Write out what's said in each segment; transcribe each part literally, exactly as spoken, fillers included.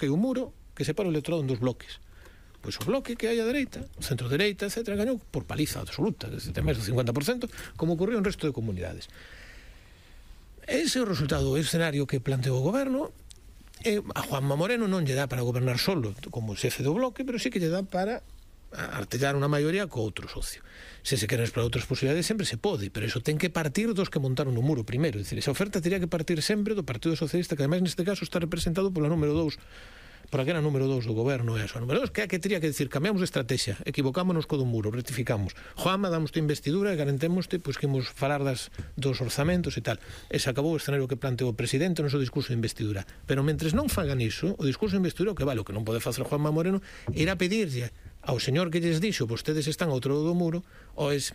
que é un muro que separa o electorado en dos bloques. Pois o bloque que hai a dereita, o centro-dereita, etcétera, gañou por paliza absoluta, desde máis do cincuenta por cento, como ocurriu en resto de comunidades. Ese é o resultado, o escenario que planteou o goberno. E a Juanma Moreno non lle dá para gobernar solo como xefe do bloque, pero sí que lle dá para artellar unha maioría co outro socio. Se se queren explorar outras posibilidades sempre se pode, pero iso ten que partir dos que montaron o muro primeiro. É dicir, esa oferta teria que partir sempre do Partido Socialista, que ademais neste caso está representado pola número dous, por aquí era número dous do goberno, e a número dous, que é que teria que decir, cambiamos de estrategia, equivocámonos co do muro, rectificamos. Juanma, damos-te investidura e garantémoste pois, que imos falar das, dos orzamentos e tal. E se acabou o escenario que planteou o presidente no seu discurso de investidura. Pero mentres non fagan iso, o discurso de investidura, o que vale, o que non pode facer Juanma Moreno, era pedirlle ao señor que lles dixo, vostedes están ao outro lado do muro, ou es...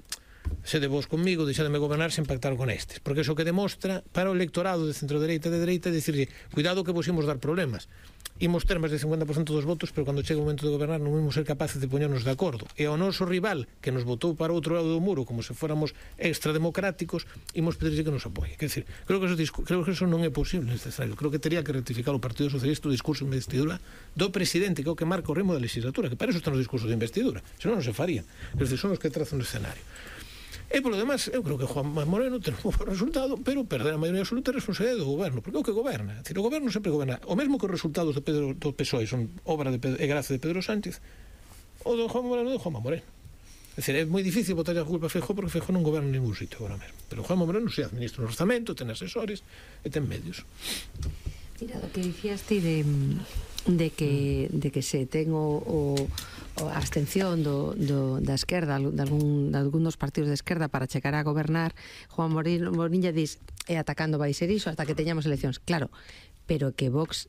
sede vos conmigo, deixademe gobernar sen pactar con estes, porque iso que demostra para o electorado de centro-dereita e de dereita é dicirlle, cuidado que vos imos dar problemas, imos ter máis de cincuenta por cento dos votos, pero cando chegue o momento de gobernar non imos ser capaces de poñernos de acordo, e ao noso rival que nos votou para o outro lado do muro como se fóramos extrademocráticos, imos pedirlle que nos apoie. Quer dizer, creo que, eso, creo que eso non é posible neste escenario. Creo que teria que rectificar o Partido Socialista o discurso de investidura do presidente, que é o que marca o ritmo da legislatura, que para eso están os discursos de investidura, senón non se faría. Quer dizer, son os que trazan o escenario. E polo demás, eu creo que Juan Moreno ten un bo resultado, pero perder a maioría absoluta é responsabilidade do goberno, porque é o que goberna. É dicir, o goberno sempre goberna. O mesmo que os resultados de Pedro, do P S O E son obra de Pedro, e gracia de Pedro Sánchez, o do Juan Moreno de Juan Moreno. É dicir, é moi difícil botar a culpa a Feijóo, porque Feijóo non goberna en ningún sitio agora mesmo. Pero Juan Moreno se administra un orzamento, ten asesores e ten medios. Mira, o que dicías ti de, de, que, de que se ten o... o a abstención do, do, da esquerda de, algún, de algún dos partidos de esquerda para chegar a gobernar, Juan Morilla dis e atacando vai ser iso hasta que teñamos eleccións, claro, pero que Vox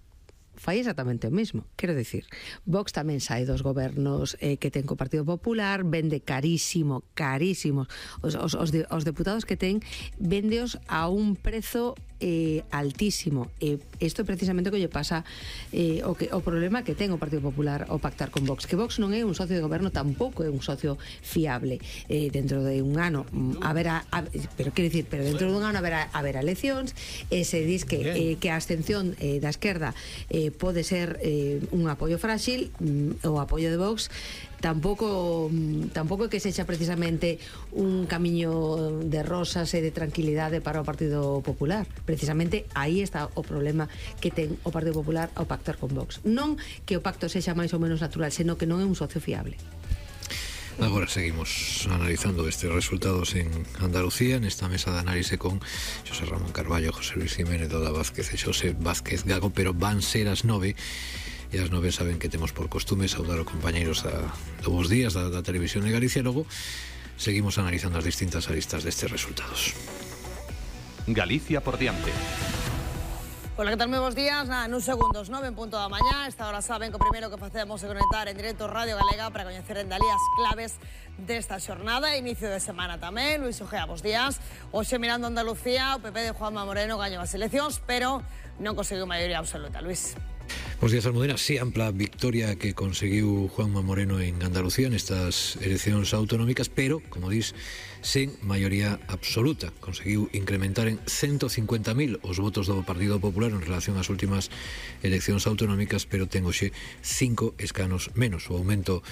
fai exactamente o mesmo. Quero dicir, Vox tamén sai dos gobernos eh, que ten co Partido Popular, vende carísimo, carísimos os, os, os, de, os deputados que ten, vendeos a un prezo eh, altísimo. E eh, isto é precisamente o que lle pasa eh, o, que, o problema que ten o Partido Popular ao pactar con Vox, que Vox non é un socio de goberno, tampouco é un socio fiable. Eh, dentro de un ano haberá, a, pero quero dicir, pero dentro de un ano haberá, haberá eleccións, e se dis que, eh, que a abstención eh, da esquerda eh, pode ser eh, un apoio frágil, mm, o apoio de Vox tampouco tampouco é que sexa precisamente un camiño de rosas e de tranquilidade para o Partido Popular. Precisamente aí está o problema que ten o Partido Popular ao pactar con Vox. Non que o pacto sexa máis ou menos natural, senón que non é un socio fiable. Agora seguimos analizando estes resultados en Andalucía, nesta mesa de análise con José Ramón Carballo, José Luis Jiménez, Doda Vázquez e José Vázquez Gago, pero van ser as nove. E as nove saben que temos por costume saudar os compañeiros da, do Bos Días da, da Televisión de Galicia. Logo seguimos analizando as distintas aristas destes resultados. Galicia por diante. Hola, que tal? Moi bons días. Nada, nun segundos, nove en punto da mañá. Esta hora saben que o primeiro que facemos é conectar en directo Radio Galega para coñecer en Dalí as claves desta xornada. Inicio de semana tamén. Luis Ojea, bons días. Hoxe mirando Andalucía, o P P de Juanma Moreno gañou as eleccións, pero non conseguiu maioría absoluta. Luis. Bos días, Almudena. Sí, ampla victoria que conseguiu Juanma Moreno en Andalucía nestas eleccións autonómicas, pero, como dis, sen maioría absoluta. Conseguiu incrementar en ciento cincuenta mil os votos do Partido Popular en relación ás últimas eleccións autonómicas, pero ten hoxe cinco escanos menos. O aumento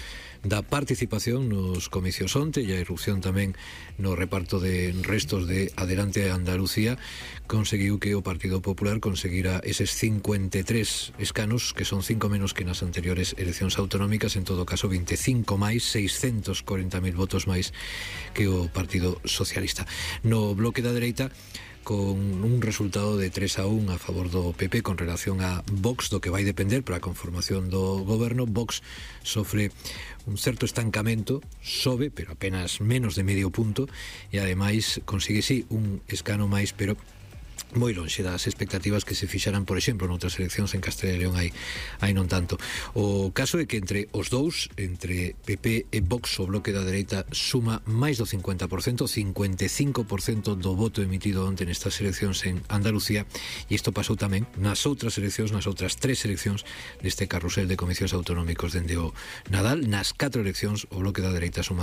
da participación nos comicios onte e a irrupción tamén no reparto de restos de Adelante Andalucía conseguiu que o Partido Popular conseguira eses cincuenta e tres escanos, que son cinco menos que nas anteriores eleccións autonómicas, en todo caso veinticinco máis, seiscentos corenta mil votos máis que o Partido Socialista. No bloque da dereita, con un resultado de tres a un a favor do P P con relación a Vox, do que vai depender para a conformación do goberno. Vox sofre un certo estancamento, sobe, pero apenas menos de medio punto, e ademais consigue sí un escano máis, pero moi lonxe das expectativas que se fixaran, por exemplo, noutras eleccións en Castela e León hai, hai non tanto. O caso é que entre os dous, entre P P e Vox, o bloque da dereita suma máis do cincuenta por cento, cincuenta e cinco por cento do voto emitido onte nestas eleccións en Andalucía, e isto pasou tamén nas outras eleccións, nas outras tres eleccións deste carrusel de comicios autonómicos dende o Nadal. Nas catro eleccións o bloque da dereita suma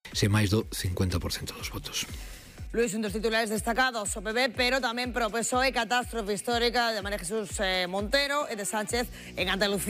se máis do cincuenta por cento dos votos. Luis, un dos titulares destacados, o P B, pero tamén pro P S O E, catástrofe histórica de María Jesús eh, Montero e de Sánchez en Andalucía.